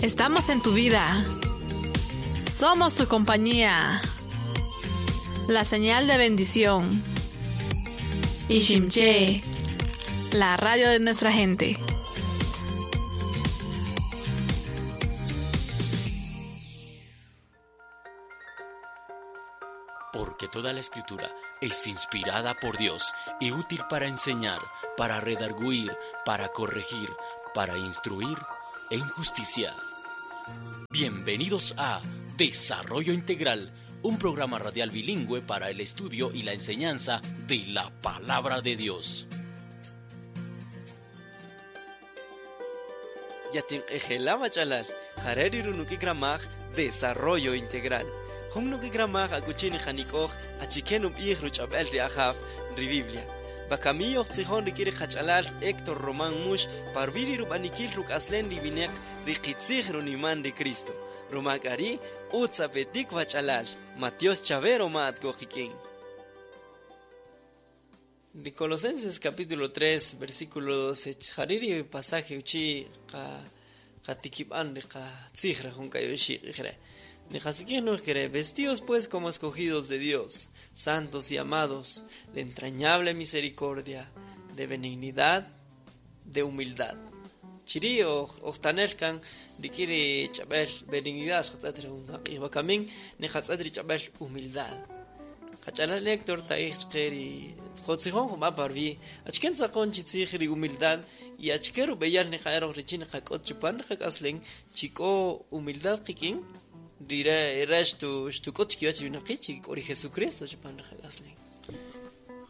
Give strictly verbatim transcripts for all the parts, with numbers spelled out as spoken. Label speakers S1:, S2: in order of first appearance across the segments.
S1: Estamos en tu vida. Somos tu compañía. La señal de bendición. Iximché, la radio de nuestra gente.
S2: Porque toda la escritura es inspirada por Dios y útil para enseñar, para redarguir, para corregir, para instruir en justicia. Bienvenidos a Desarrollo Integral, un programa radial bilingüe para el estudio y la enseñanza de la Palabra de Dios.
S3: Yatin ejela machalal, jareri runukikramaj, Desarrollo Integral. Jun nukikramaj akuchini janikoj, achiken ubij ruchabel riajaf, ri Biblia. Bakami oxtzijon rikiri jachalal Héctor Román Mush, parviri rubanikil rukaslen ribinek, rikitzij runiman ri Cristo. Rumakari, utzapetik bachalal, Matios Chavero mat gojikin. De Colosenses capítulo tres, versículo doce, jariri pasaje uchi ka katikipan ka tzijra junkayoshi ijre. Vestidos pues como escogidos de Dios, santos y amados, de entrañable misericordia, de benignidad, de humildad. Chiri ojtanelkan rikiri chabel benignidad, bakamin nijatsadri chabel humildad. Qachalal Héctor taij chqeri jotzijón jum'a parvi achken tzaqon chitzij ri humildad y achkeru beyal nijaero richin qak'ot chupan qak'aslen chik'o humildad qikin rire resto xtuk'ot chkiwach winaqi chik'o ri Jesucristo chupan qak'aslen.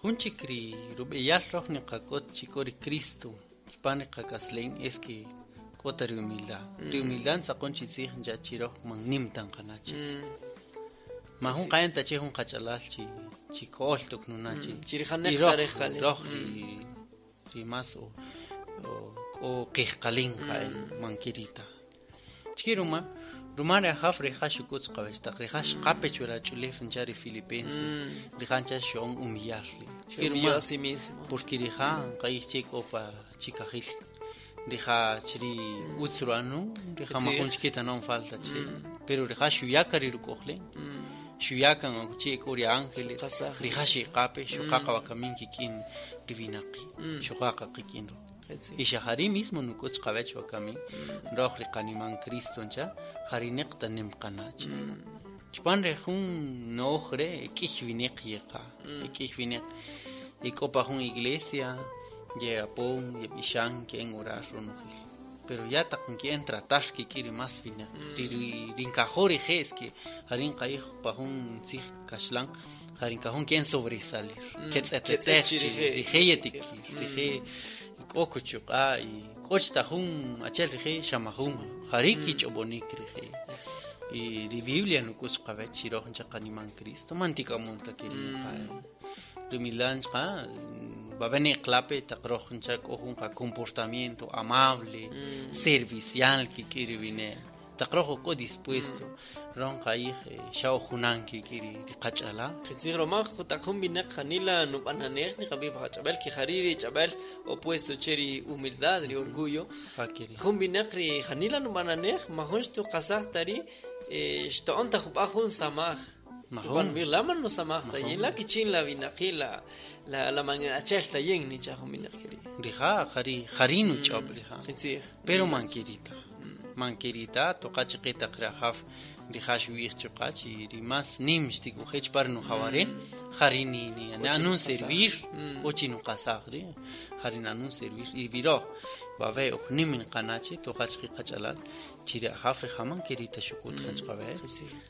S4: Jun chikri rub'eyal roj niqak'ot chik'o ri Cristo chupan qak'aslen es que k'ota ri humildad. Ri humildad tzaqon chitzij ncha chiroj man nim tan qanachi. Ma jun qayan tachi jun qachalal chi chik'ol tuknunachi.
S3: Chirijanek tarejale.
S4: Roj ri ri mas o o qijqalin qaen mankirita. Chikiruma rumare haf rija xukutz qawech taq rija xqapech wala ch'ulef ncha ri Filipenses rija ncha xo'on humillar.
S3: Se humilló a sí mismo.
S4: Porque rija q'ayij chik opa chikajil. Rija chri utzruanu rija majun chikita non falta chri. Pero rija xuyaka ri ruk'ojle. Xuyakan akuchi k'ori ángeles rija xiqape xuqaqa wakamin kik'in riwinaqi xuqaqa qikin ro. Y xajari mismo nuk'utz qawech wakamin roj riqaniman Cristo ncha jarineq tanem qanach. Chpan re jun nooj re k'ij wineq yeqa k'ij wineq ik'opa jun iglesia yeapon yeb'ixan k'en orar ronojel. Pero ya taq nk'en tratar kik'iri mas wineq rinkajo rije' es que jarin q'ayij pa jun tzij kaxlan jarin kajun k'en sobresalir ketz'etet'ej rije' yetikir rije' k'o kuchuq'a y k'och tajun achel rije' xamajun jari kich'ob'onik rije' y ri Biblia nuk'utz qawech chiroj ncha qaniman Cristo man tik'amun ta kirin qa'e humildad nchqa va a venir clape taqroj ncha k'o jun comportamiento amable mm. servicial kik'iri vine taqroj k'o dispuesto ron q'ayij xa ojunan kik'iri riqach'ala
S3: qitzij romaj taq jun winaq janila nub'ananej niqab'ij qach'ab'el kijariri ch'ab'el opuesto che ri humildad ri orgullo jun winaq ri janila nub'ananej majun xtuqasaj ta ri xto'on ta jub'a jun samaj. Juan Laman no samaj tayin la kichin la vinaqi la la la manachel tayin ni cha jun winaq kiri.
S4: Rija jari jarinu ch'ob rija. Pero mankirita. Mankirita toqachiqita qrajaf rija xuij chuqach y rimas nim xtikujech par no jaware jarini ni anun servir ochi no qasaj ri jarin anun servir y viroj va ve nim qanachi toqachqi qachalal chiri jaf rija mankirita xukut qanchqawech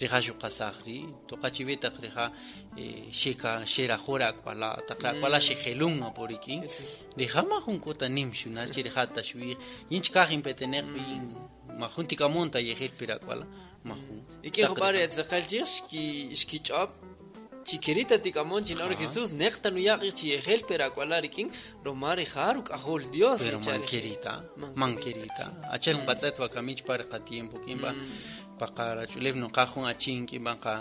S4: rija xuqasaj ri toqachibeta rija xeka xerajora ak'wala taq ak'wala xejelun aporikin rija majun k'ota nim xuna chirija ta xuij yinchkaj inpeteneq majun tikamonta yejel pirak'wala majun.
S3: Y que jopare tzaqal chij xki xkich'ob chiquirita tikamon chinor Jesús neqta nuyaqi chiyejel perak'wala rikin roma rija ruk'ajol Dios.
S4: Pero manquerita manquerita achel nqatz'et wakamich par qatiempo kimba paqarach'ulef noqaj jun achin kimba qa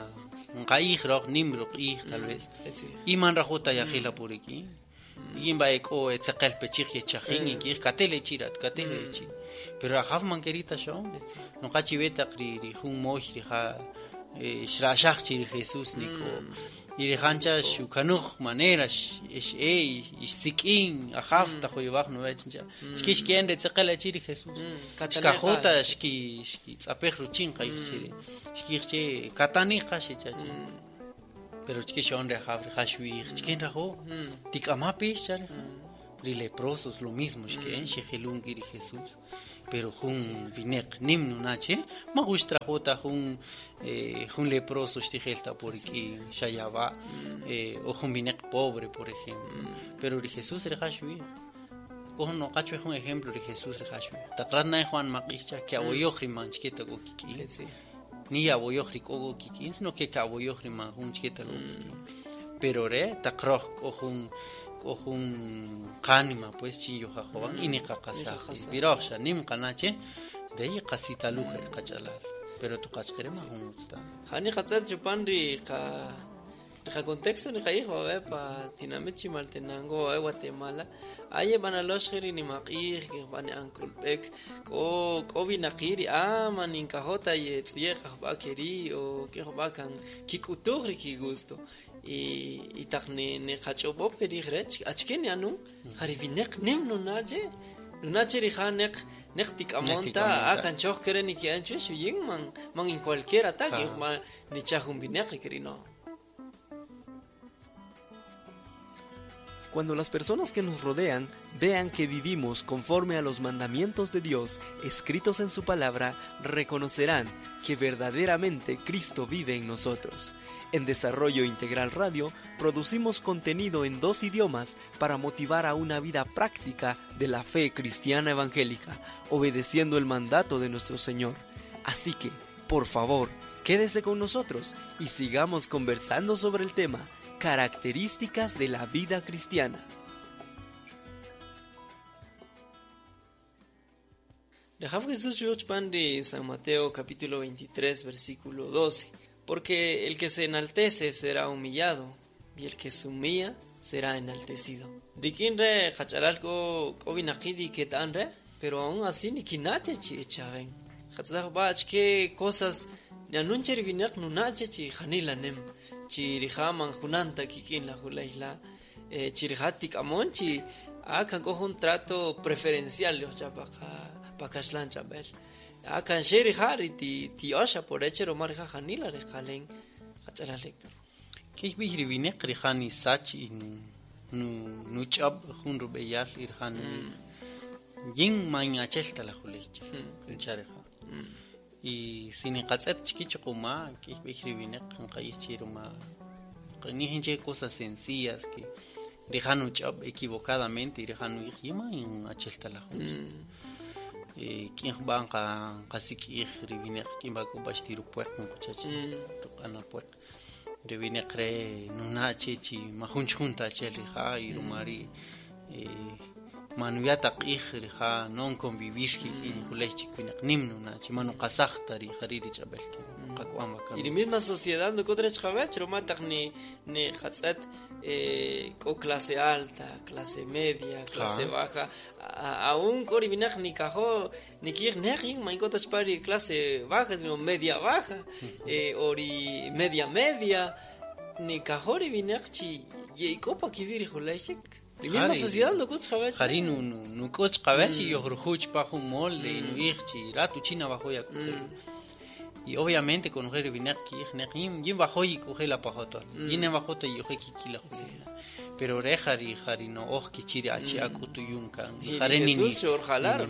S4: nqa'ij roj nim ruq'ij tal vez y man rajota yajel apurikin Imba eko etzeqel pechij yechajin y katele chirat katele chi. Pero ajaf manquerita yo. No kachiveta ri ri jun moj ri ja xrashaj chi ri Jesús niko. Y ri hancha shukanuj manera ish e ishsikin ajaf tajoyobaj no vechincha. Xkish kien retzeqel chi ri Jesús. Xkajota xki xki tzapej ruchin qaychiri. Xkirche katani qaxichachi. Pero chkishon re ajaf ri jashuij chkin rajo. Tikamapi chare. Ri leprosos lo mismo xkien xejilun ri Jesús. Pero jun vinek nim nunache ma gusta jota jun jun leproso xtijelta porque xayaba o jun vinek pobre por ejemplo. Pero ri Jesús ri jashui con no cacho es un ejemplo de Jesús ri jashui taqrat na Juan maqicha que aboyoj ri manchketa go kiki ni aboyoj ri kogo kiki sino que aboyoj ri man jun chketa go kiki pero re taqroj ko jun jun qanima pues chinyo jajoban y ni qaqasa pirosha nim qanache de ahí qasita lujer qachalal pero tu qachqere ma jun usta
S3: jani qatzat chupan ri qa qa contexto ni qaijo a ver pa tinamit Chimaltenango a Guatemala aye banalosh ri ni maqij que van ankulpek ko ko binaqiri ah man inkajota y tz'ye qajba keri o que jba kan kikutuj ri ki gusto y y taq ni ni qach'obo perij rech achke ni anun jari vineq nim nunache nunache ri janeq neq tik'amonta a kanchoj kere ni ki anchu xuyin man man en cualquier ataque man ni chajun vineq ri keri no.
S5: Cuando las personas que nos rodean vean que vivimos conforme a los mandamientos de Dios escritos en su palabra, reconocerán que verdaderamente Cristo vive en nosotros. En Desarrollo Integral Radio producimos contenido en dos idiomas para motivar a una vida práctica de la fe cristiana evangélica, obedeciendo el mandato de nuestro Señor. Así que, por favor, quédese con nosotros y sigamos conversando sobre el tema Características de la vida cristiana.
S3: Dejaf Jesús Pan de San Mateo capítulo veintitrés versículo doce. Porque el que se enaltece será humillado, y el que se humilla será enaltecido. Rikin re hachalalko kobinakiri ketan re, pero aún así ni kinache chi echaven. Hatzaj bach que cosas nanuncher vinak nunache chi janilanem. Chirijaman junanta kikin la julaisla chirijatik amonchi akan cojo un trato preferencial los chapaka pakashlan chapel akan sheri hari ti ti osha por echero marja janila de jalen hachala lector
S4: que bihri vinek rijani sach in nu nu chab jun rubeyal irjan yin mañachelta la juleicha chareja y sin qatzet chiquichocoma que bihri nqaychiruma qnihinche cosas sencillas que rijanu chab equivocadamente y rijanu yima en achelta la junta eh quien van qa qasikij ribineq quien va kubashtiru pueq nquchachi tuqana pueq ribineq re nunache chi majunch junta chel rija y rumari eh manuyata q'ij rija non convivir kiki julej chikwinaq nim nunachi manu qasajta ri jariri ch'ab'el ki qak'uan
S3: y la misma sociedad no contra ch'ab'ech romataq ni ni qatz'et eh k'o clase alta clase media clase baja aún k'o riwinaq ni kajo ni ki'ij neq man k'o ta chpari clase baja sino media baja eh o ri media media ni kajo riwinaq chi ye'ik'opa kib'ir julej chik. La misma sociedad no kuch qabech.
S4: Jari no no no kuch qabech y yorujuch pa jun molde y no irchi ratu china bajo ya. Y obviamente con mujer vinek ki yin bajo y coge la pajoto. Yin bajo te yo ki la juli. Pero rejari jari no oj ki chiri achi akutu yunkan. Jari ni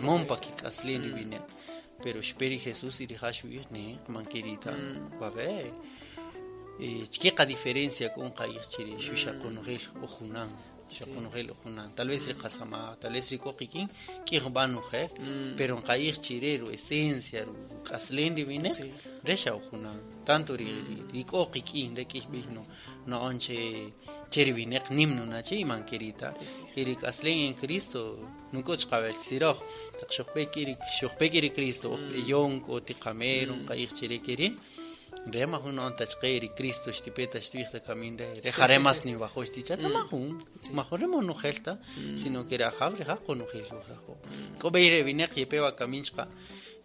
S4: mompa ki kaslin vinek. Pero esperi Jesús y rejashu ne manquerita. Va ver. Eh chica diferencia con qayich chiri shusha con gel ojunan. Tal vez riqasama, tal vez ricoqikin, kiqbanujer, pero en qayich chirero, esencia, qaslen divine, resha ojunan. Tanto ricoqikin, requisbino, no onche cherivinek nimno nache y manquerita. Y riqaslen en Cristo, nukoch qabel siroj, taqshoqpekiri, shoqpekiri Cristo, ojpeyonk, otiqamero, qayich chirekiri. Re majun on tachqe ri Cristo xtipeta xtwij la kamin re re jare mas ni bajo xtichata majun majun re monojelta sino que ra jaw re ja konojel rajo ko beire vineq yepewa kamin chqa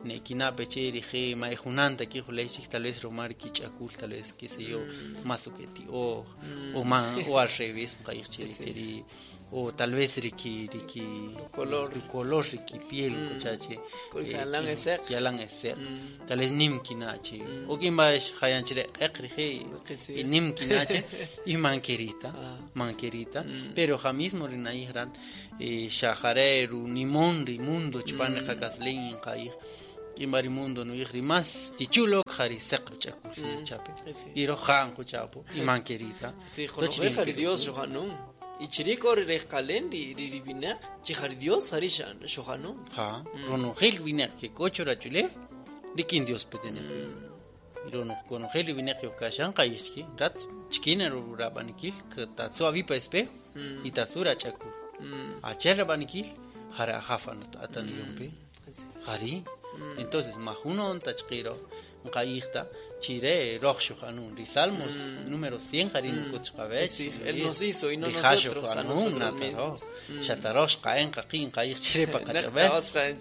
S4: ne kina peche rije ma junanta ki julei tal vez romar kichakul tal vez qué sé yo más o que ti o o ma o al revés nqaij chiri o tal vez riki riki
S3: color
S4: color riki piel chache
S3: yalan esek
S4: yalan esek tal vez nim kinache o kimba hayan chire eq rije y nim kinache y manquerita manquerita pero ja mismo rinaihran shajare ru nimon ri mundo chpan qakaslen nqaij kimba ri mundo no ri más tichulo jari seq chakul chape y rojan chapo y manquerita
S3: sí jari Dios rojanun y chiriko ri rejkalen ri ri vineq chi jari Dios jari xojanun
S4: ja ronojel vineq que kocho rachule rikin Dios petene y ronojel vineq yokashan qayishki rat chkina rurabanikil tatsu avipa espejo y tatsura chakul acher rabanikil jara jafa ataniyompe jari entonces majuno tachqiro nqaijta chire roxo janun ri Salmos número cien jari nukuchqabech
S3: sí él nos hizo y no nosotros a nosotros mismos
S4: chatarox qaen qaqin qaij chire paqachabel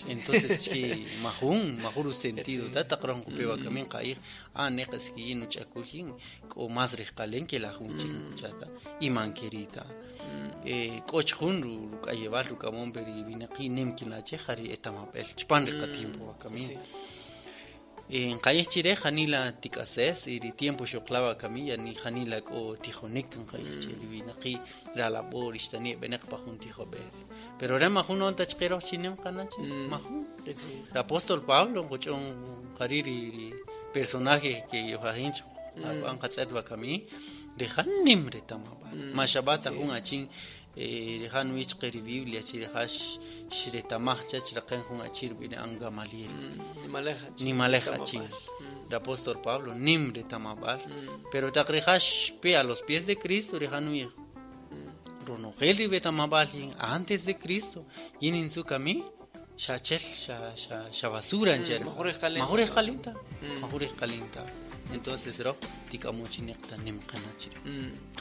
S4: entonces chi majun majuru sentido ta taqron kupewa kamin qaij a neqas ki nuchakulin k'o más riqalen que la junchik chata y manquerita eh k'och jun ruk'ayebal rukamon peri binaqi nim kinache jari etamapel chpan riqatimpo kamin en calles chire janila tikases y ri tiempo xoklava camilla ni janila ko tijonik en calles chire binaqi ralabor ishtani beneq pajun tijobel pero re majun on tachqero chinem qanache majun el apóstol Pablo ngochon qariri ri personaje que yojahinch an qatz'et wakami ri janim retamaba mashabata jun achin eh wich qeri Biblia chi hash shretamaj chach raqen jun achir bine an Gamaliel ni maleja chin el apóstol Pablo nim retamabal pero taqrijash pe a los pies de Cristo rijanuij ronojel ribetamabal antes de Cristo yinin su kami shachel sha sha sha basura encher majure qalinta majure qalinta entonces ro tikamuchineqta nimqanachri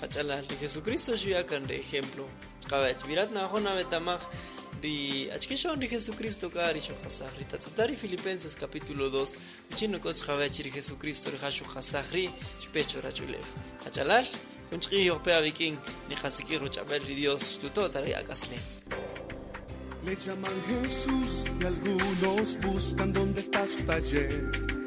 S3: qachalal ri Jesucristo xuyakan ri ejemplo chqawach mirat najona betamaj ri achkexon ri Jesucristo ka ri xojasaj ri tatzatari Filipenses capítulo dos uchino kos chqawach ri Jesucristo ri xojasaj ri xpecho rachulev qachalal junchqi yoqpe abikin ni qasikir ruchabel ri Dios tutota ri akaslen.
S6: Le llaman Jesús y algunos buscan dónde está su taller.